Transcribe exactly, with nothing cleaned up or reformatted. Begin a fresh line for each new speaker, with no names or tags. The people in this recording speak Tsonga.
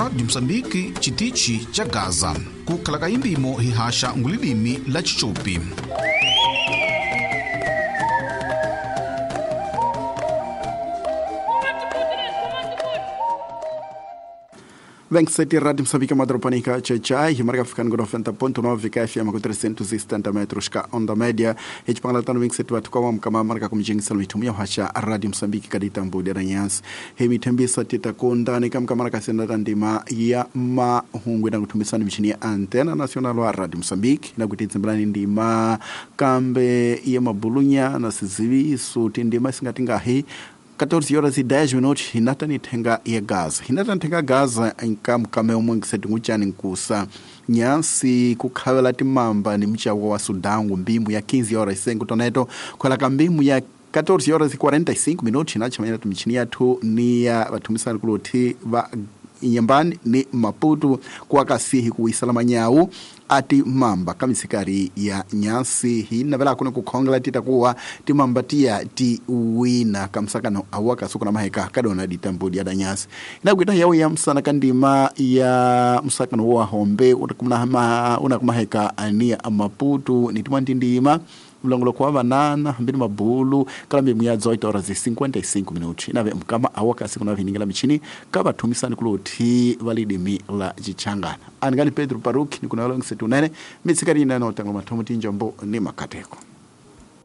Rádio Moçambique, Chitichi cha Gaza. Kukhala imbimo hihasha ngulilimi la Chichopi.
vinte e sete Rádio Moçambique Madropanica Tchai, marca ficando com noventa ponto nove K F M com trezentos e setenta metros ka onda média. E tipangala vinte e sete watu kwa mkama marca kumjengisa mitumia hasha Rádio Moçambique kaditambu deranyas. Hemi tembisa tita kondani kamka marca senda tandima ya mahungwe na kutumisana michini ya antena nacional wa Rádio Moçambique na kutitsimbrani ndima kambe ya mabulunya na siziviso tindima singatingahi catorze horas e dez minutos, hinata nitenga ya Gaza. Hinata nitenga Gaza nka mkame umwe nkisetinguchani nkusa. Nyansi kukhavela timamba ni mchawo wa Sudangu mbimbu ya quinze horas e cinco toneto. Kwa kambimu ya catorze horas e quarenta e cinco minutos, hinachamanya tumichini yatu ni ya watumisani kuloti wa Nyambani ni Maputo kwa kasihi kuisalama nyau ati mamba kamisikari ya nyansi hina vela kuna kukhongela titakuwa timambatia ti wina kamsakano awaka suku na maheka kadona ditambudi ya nyasi inakuita yao ya msana kandima ya msakano wa hombe unakumna unakumaheka ania Maputo ni timwandindima mlongolo kwa banana mbili mabulu kalambi mya dezoito horas e cinquenta e cinco minutos inave mkama awaka siku na viningila michini kaba tumisani kuloti validimi la jichangana anigani Pedro Paruki nikuna longi setu nene mitsikari inano tango matomo tinjombo ni makateko.